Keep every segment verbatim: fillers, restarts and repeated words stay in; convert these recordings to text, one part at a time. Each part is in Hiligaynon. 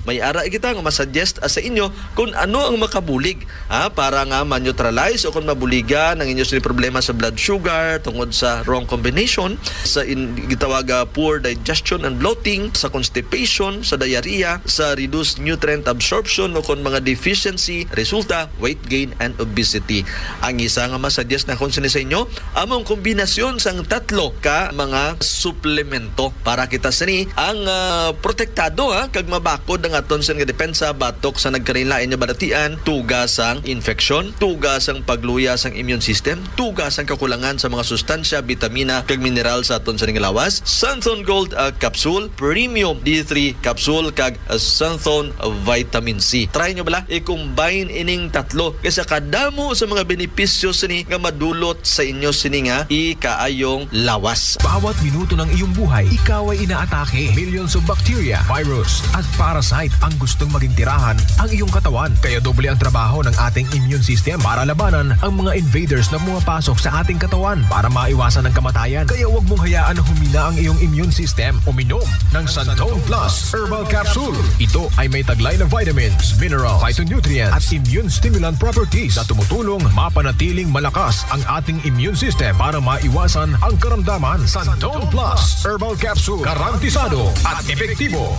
May ara kita nga masuggest, ah, sa inyo kung ano ang makabulig, ah, para nga ma-neutralize o kung mabuligan ang inyo sini problema sa blood sugar tungod sa wrong combination, sa in-, gitawag, ah, poor digestion and bloating, sa constipation, sa diarrhea, sa reduced nutrient absorption o kung mga deficiency resulta weight gain and obesity. Ang isa nga masuggest na kung sini sa inyo, among kombinasyon sang tatlo ka mga suplemento para kita sini ang, ah, protektado, ha, kag mabakod ang aton sini nga depensa batok sa nagkalainlain nga balatian, tuga sang infeksyon, tuga sang pagluya sang immune system, tuga sang kakulangan sa mga sustansya, bitamina, kag mineral sa aton sini nga lawas. Santhon Gold, ah, Capsule, Premium D three Capsule, kag, ah, Santhon Vitamin C. Try nyo bala, i-combine ining tatlo kay sa kadamo sa mga benepisyo sini nga madulot sa inyo sini nga ikaayong lawas. Bawat minuto ng iyong buhay, ikaw ay inaatake. Millions of bacteria, virus, at parasite ang gustong maging tirahan ang iyong katawan. Kaya doble ang trabaho ng ating immune system para labanan ang mga invaders na pumapasok sa ating katawan. Para maiwasan ang kamatayan, kaya huwag mong hayaan na humina ang iyong immune system. Uminom ng Santon Plus Herbal Capsule. Ito ay may taglay na vitamins, minerals, phytonutrients, at immune stimulant properties na tumutulong mapanatiling malakas ang ating immune system para maiwasan ang karamdaman. Santon Plus Herbal Capsule, garantisado at epektibo.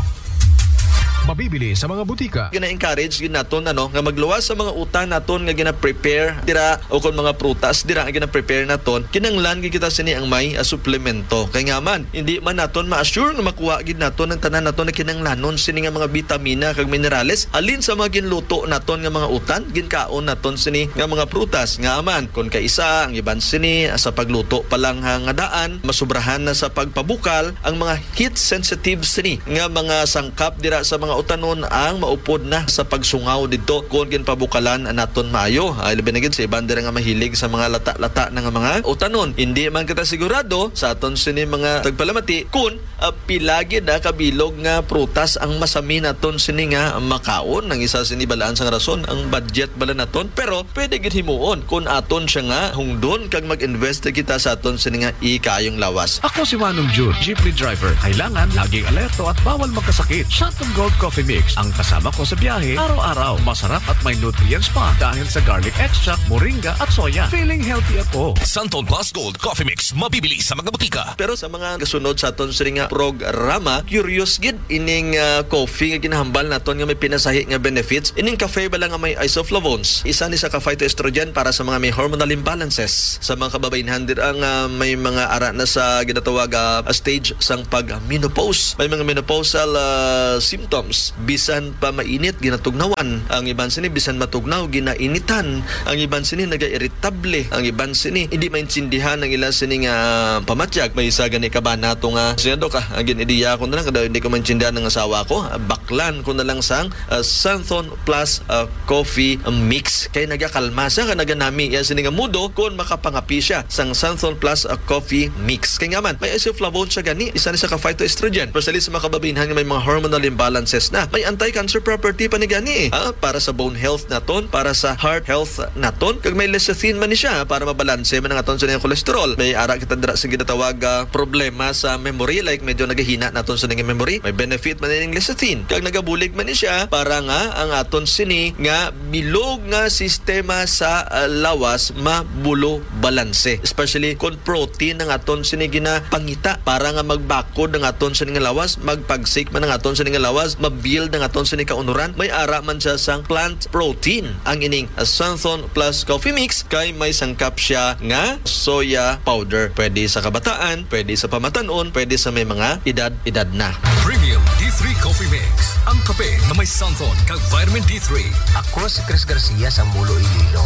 Mabibili sa mga butika. Gina-encourage gid naton, ano, nga magluwas sa mga utan naton nga gina-prepare dira, o kon mga prutas dira nga gina-prepare naton, kinahanglan gid kita sini ang may, ah, suplemento. Kay nga man, hindi man naton ma-assure nga makuha gid naton ang tanan naton nga kinahanglanon sini nga mga bitamina kag minerales halin sa mga ginluto naton nga mga utan, ginkaon naton sini nga mga prutas. Nga man, kon kaisa, ang iban sini, ah, sa pagluto pa lang, ha, nga daan, masubrahan na sa pagpabukal ang mga heat sensitive sini nga mga sangkap dira sa mga utanon ang maupod na sa pagsungaw didto kon ginpabukalan naton maayo. Ah, labi na gid sa iban dira nga mahilig sa mga lata-lata na nga mga utanon. Hindi man kita sigurado sa aton sini mga tagpalamati kon, ah, pila gid, ah, kabilog nga prutas ang masami naton sini nga makaon. Ang isa sini balaan sang rason, ang budget bala naton. Pero pwede gid himuon kon aton siya nga hungdon kag mag-invest kita sa aton sini nga ikaayong lawas. Ako si Manong Jun, jeepney driver. Kailangan laging alerto at bawal magkasakit. Santon Gold Coffee Mix ang kasama ko sa biyahe araw-araw. Masarap at may nutrients pa dahil sa garlic extract, moringa at soya. Feeling healthy ako. Santon Plus Gold Coffee Mix, mabibili sa mga butika. Pero sa mga gasunod sa aton sini nga programa, curious gid ining, ah, coffee nga ginahambal naton nga may pinasahi nga benefits. Ining cafe bala nga may isoflavones, isa ni sa ka phytoestrogen para sa mga may hormonal imbalances. Sa mga kababaynhan dira nga may mga ara na sa ginatawag, ah, stage sang pag-menopause. May mga menopausal, ah, symptoms. Bisan pa mainit, ginatugnawan. Ang iban sini bisan matugnaw, ginainitan. Ang iban sini nagairitable. Ang iban sini hindi maintindihan ang ila sini nga pamatyag. May isa gani ka ba nato nga, "Siya, Dok, ah, ang gin-ideya ko na lang, kada hindi ko maintindihan ng asawa ko, ah, baklan ko na lang sang, ah, Santhon Plus, ah, Coffee Mix." Kay nagakalma siya, kag naganami iya sini nga mudo kon makapangapi siya sang Santhon Plus, ah, Coffee Mix. Kay nga man, may isoflavone siya gani, isa ni sa ka phytoestrogen. Especially sa mga kababaynhan nga may mga hormonal imbalances na. May anti-cancer property pa ni gani, eh. Ah, para sa bone health naton, para sa heart health naton. Kag may lecithin man ni siya para mabalanse man ang aton sini nga cholesterol. May ara kita dira sa ginatawag, ah, problema sa memory, like medyo nagahina naton sini nga memory. May benefit man ning lecithin. Kag nagabulig man ni siya para nga ang aton sini nga bilog nga sistema sa, ah, lawas mabulo balanse. Especially kon protein ang aton sini ginapangita para nga magbakod ang aton sini nga lawas, magpagsik man ang aton sini nga lawas, mabuild ang aton sini kaunuran. May ara man siya sang plant protein ang ining Santhon Plus Coffee Mix, kay may sangkap siya nga soya powder. Pwede sa kabataan, pwede sa pamatan-on, pwede sa may mga edad-edad na. Premium D three Coffee Mix, ang kape na may Santhon kag vitamin D three. Ako si Chris Garcia sa Mulo, Iloilo.